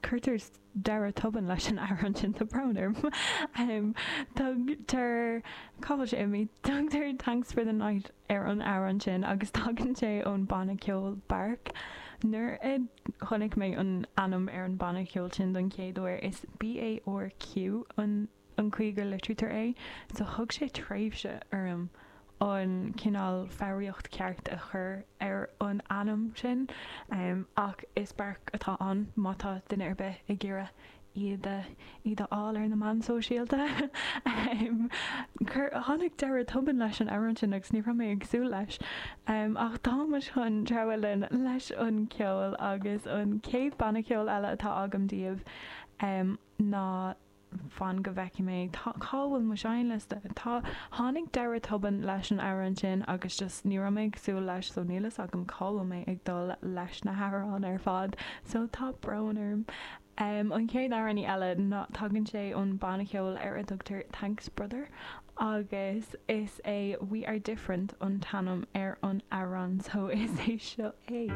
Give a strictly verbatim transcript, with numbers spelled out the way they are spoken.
Cuirtear deireadh tobann leis an amhrán sin tá brón orm. um, Tugtar cá bhfuil sé imithe tugtar Thanks for the Night ar an amhrán sin agus tagann sé ón banna ceoil Barq. Nuair a chonaic mé an ainm ar an banna ceoil sin don chéad uair is BARQ an an chaoi go litrítear é, so thug sé tréimhse orm an cineál foghraíocht ceart a chur ar an ainm sin um, ach is Barq atá ann má tá duine ar bith ag iarraidh iad iad a fháil ar na meáin sóisialta. um, Tháinig deireadh tobann leis an amhrán sin agus ní raibh mé ag súil leis. Um, ach táimid chun treabhadh linn leis an ceol agus an chéad banna ceoil eile atá agam daoibh um, ná fan go bhfeicfidh mé cá bhfuil mo seinnliosta Tá tháinig deireadh tobann leis an amhrán sin agus just ní raibh mé ag súil leis so níl a fhios agam cá bhfuil mé ag dul leis na hamhráin ar fad so tá brón orm. Um, an chéad amhránaí eile ná tagann sé ón banna ceoil ar a dtugtar Thanks Brother agus is é We Are Different an t-ainm ar an amhrán so is é seo é.